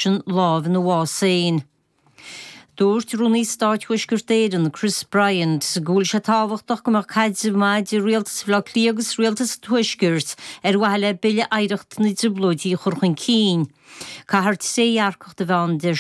Sin lámh ina bhás féin. Dúirt Rúnaí Stáit Thuaisceart Éireann, Chris Bryant, go bhfuil sé tábhachtach go mbeadh caidreamh maith idir Rialtas Bhaile Átha Cliath agus Rialtas an Tuaiscirt ar mhaithe le Bille Oidhreachta na dTrioblóidí a chur chun cinn. Caithfear trédhearcacht a bheith ann, a deir.